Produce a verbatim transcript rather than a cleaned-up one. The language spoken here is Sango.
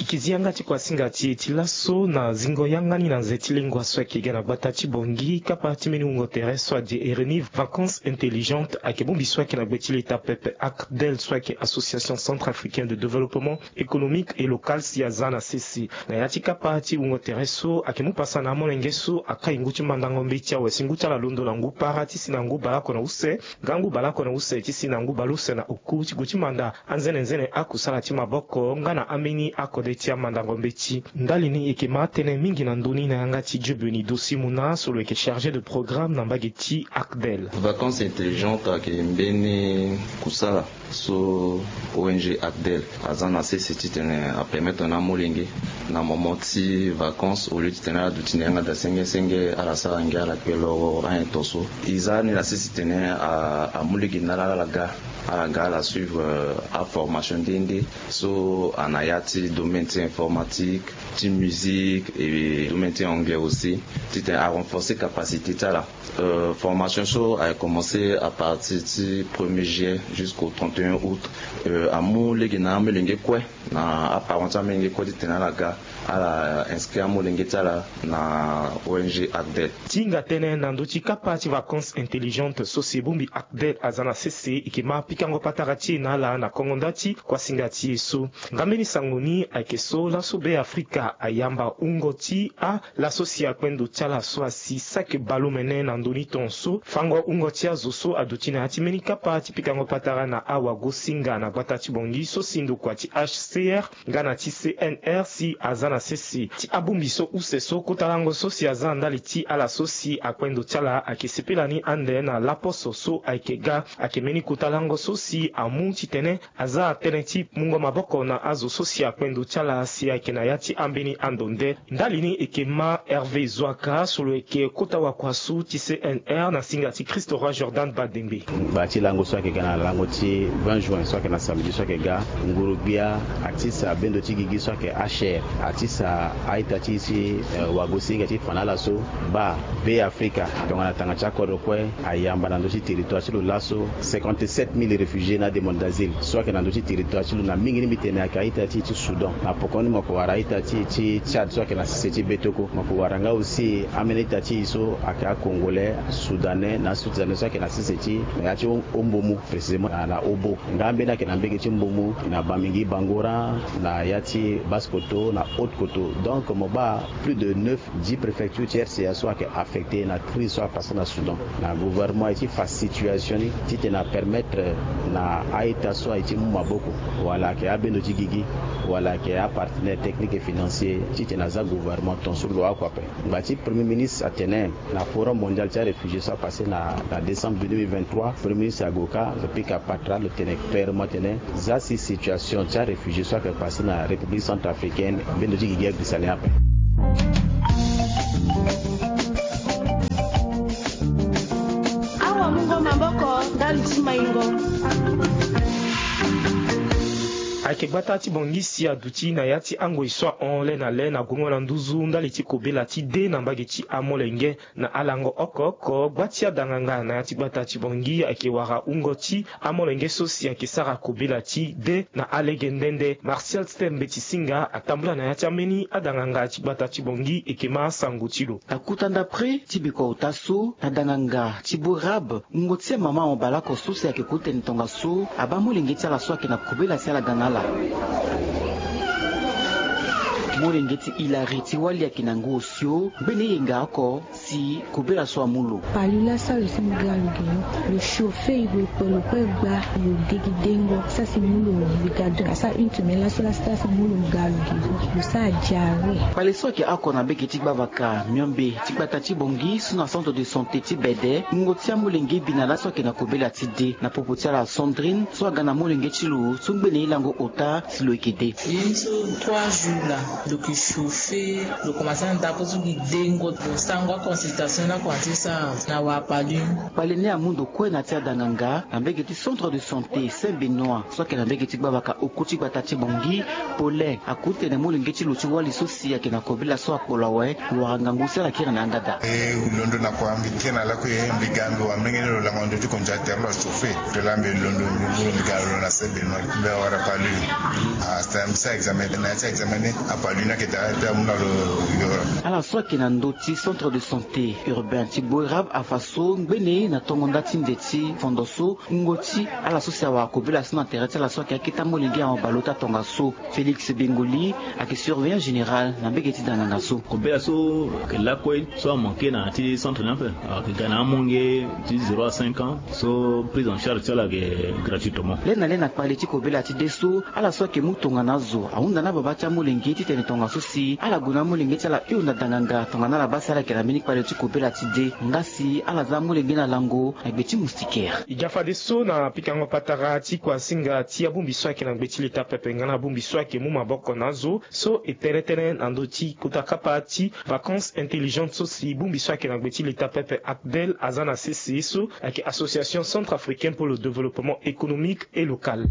Kizi yanga ti kuasinga ti e ti laso na zingo yanga ni na nze ti lengua so ayeke ga na gbata ti Bangui, kapa ti mbeni wungo tere so adi Erenive Vacances Intelligentes ayeke bongbi so ayeke na gbe ti leta pepe, ACDEL, so ayeke Association Centrafricaine de Développement Économique et Local, si aza na sese. Na ya ti kapa ti wungo tere so ayeke mu pasa na amolenge so akai ngu ti mandango mbeti awe si ngu ti ala londo na ngu para ti si na ngu baleoko na use, nga ngu baleoko na use ti si na ngu baleuse na oku ti gue ti manda anzenenzene akusala ti maboko nga na ambeni akode ti amandango mbeti. Ndali ni e yeke ma tënë mingi na ndö ni na yanga ti Dieu Béni Dosi Muna so lo yeke chargé de programme na mbage ti ACDEL. Vacances Intelligentes ayeke mbeni kusala so O N G ACDEL aza na sese titene apermettre na amolenge na moment ti vacances, au lieu titene ala duti na yanga daa senge senge, ala sara ngia, ala kpe loro anyen to so. E za ni na sese titene a, amu lege na ala, ala ga, ala ga ala suivre, euh, aformation nde nde so ana ya ti domaine ti informatique, ti musique et domaine ti anglais aussi, titene arenforcer capacité ti ala. Euh, formation so ayeke commencé à partir ti premier juillet jusqu'au trente et un août. Euh, amu lege na amolenge kue, na aparent ti amolenge kue titene ala ga ala inscrit amolenge ti ala na O N G ACDEL. Ti hinga tënë na ndö ti kapa ti Vacances Intelligentes so si e bongbi ACDEL aza na sese, e yeke ma pikango patara ti e na ala na kongo nda ti kuasinga ti e so. Nga mbeni sango ni ayeke so laso Be Afrika ayamba wungo ti a laso si akpendo ti ala so asi saki baleomene na ndö ni ton so fango wungo ti azo so aduti na ya ti mbeni kapa ti pikango patara na awagosinga na gbata ti Bangui so si ndokua ti H C R nga na ti C N R si aza na sese ti abongbi so use so kota lango so si aza na ndali ti ala so si akpendo ti ala ayeke sepela ni ande na laposo so ayeke ga. Ayeke mbeni kota lango so si amu titene aza tënë ti mungo maboko na azo so si akpendo ti ala si ayeke na ya ti ambeni ando nde. Ndali ni e yeke ma Hervé Zoaka so lo yeke kota wakuasu ti C N R na singa ti Christ Roi Jordan Badembe. Ngba ti lango so ayeke ga na lango ti vingt juin so ayeke na samedi so ayeke ga, nguru-gbia atisa bendo ti gigi so ayeke H R, atisa a-ita ti e si, eh, wagosinga ti fa na ala so, baa Be Afrika tongana tanga ti akodro kue ayamba na ndö ti territoire ti lo laso cinquante-sept mille réfugiés na ademande d'asile so ayeke na ndö ti territoire ti lo, na mingi ni mbi tene ayeke a-ita ti e ti Soudan. Na poko ni mo yeke wara a-ita ti e ti Tchad so ayeke na sese ti Betoko, mo yeke wara nga aussi ambeni a-ita ti e so ayeke a-Congolais, Soudanais na a-Soudanais so ayeke na sese ti na ya ti Ho-, Hombomou, précisément na, na Hobo. Nga ambeni ayeke na mbege ti Mbomou, na Bamingui Bangoran, na ya ti Basse-Kotto, na Haute-Kotto. Donc mo baa plus de neuf, dix préfectures ti R C A so ayeke affecté na crise so apassé na Soudan. Na gouvernement aye ti fa situation ni titene apermettre na a-ita so aye ti mu maboko, wala ayeke abendo ti gigi, wala ayeke apartenaire technique et financier, titene aza gouvernement ton so lo oko ape. Ngba ti Premier ministre atene na Forum mondial ti aréfugié so apassé na, na décembre deux mille vingt-trois, Premier ministre ague ka, lo pika patra, lo tene clairement atene, za si situation ti aréfugié so ayeke passe na République centrafricaine, mbendo ti gigi agbisa ni ape. Awamungo maboko ndali ti maingo. Ayeke gbata ti Bangui si aduti na ya ti angoi so ahon le na le na gongo na nduzu ndali ti kobela ti de na mbage ti amolenge. Na alango oko oko, gba ti adanganga na ya ti gbata ti Bangui ayeke wara wungo ti amolenge so si ayeke sara kobela ti de na alege nde nde. Martial Stem Mbeti Singa atambula na ya ti ambeni adanganga ti gbata ti Bangui, e yeke ma asango ti lo. Akuta ndapre ti bikua ota so na danganga ti Bourab, wungo ti amama mo baleoko so si ayeke kotene tongaso abaa molenge ti ala so ayeke na kobela si ala ga na ala. Molenge ti Hilary ti wali ayeke na ngu osio, mbeni eyenga oko si kobela so amu lo. Palu laso lo si mo ga lo gi lo, lo chauffer e gue kue, lo kue gba lo de gi dengo, sa si mu lo mo ga do asara une semaine laso, laso sa si mu lo mo ga lo gi lo, lo sara diarrhée. Kpale so ayeke oko na mbege ti gbavaka miombe ti gbata ti Bangui so na centre de santé ti Bede, wungo ti amolenge bi na laso ayeke na kobela ti de na popo ti ala Sandrine so aga na molenge ti lo so ngbene ye lango ota si lo yeke de. Ye ni so trois jours laa, lo yeke chauffer, lo komanse na ndako so gi dengo, lo sango aconsultation ni akomanse sara na wara palu. Kpale ni amu ndo kue na ya ti adanganga na mbege ti centre de santé Saint Benoît so ayeke na mbege ti gbavaka oku ti gbata ti Bangui. Paulin akutene molenge ti lo ti wali so si ayeke na kobela so akpolo awe, lo wara ngangu si ala kiri na yanga daa. E londo na kua mbi kiri na lakue, mbi ga mbi wara mbenge ni lo lango ndo ti konja tere lo achauffer. Tela mbi londo mbi buru mbi ga lo na Saint Benoît, mbi awara palu. Ah, c'est un Sa examen na ya ti examen ni apa luna ke daa pe amu na lo. Yora. Ala so ayeke na ndö ti centre de santé urbain ti Boerab afa so ngbene na tongo nda ti nze ti fondo so wungo ti ala so si awara kobela so na tere ti ala so ayeke akita molenge ahon baleota tongaso. Félix Bengoli ayeke surveillant général na mbege ti danganga so. Kobela so ayeke lakue so amanke na ya ti centre ni ape, ayeke ga na amonge ti zéro à cinq ans. So prise en charge ti ala ayeke gratuitement. Lê na lê na kpale ti kobela ti de so ala so ayeke mu tongana azo ahunda na ababa ti amolenge titene tongaso si ala gue na amolenge ti ala hio na danganga tongana ala baa si ala yeke na mbeni kpale ti kobela ti de nga si ala za amolenge na lango na gbe ti moustiquaire. E ga fadeso na pikango patara ti kuasinga ti abongbi so ayeke na gbe ti leta pepe nga na abongbi so ayeke mu maboko na azo so e tere tënë na ndö ti kota kapa ti vacances intelligentes so si bongbi so ayeke na gbe ti leta pepe ACDEL aza na sese so ayeke Association Centrafricaine pour le Développement Économique et Local.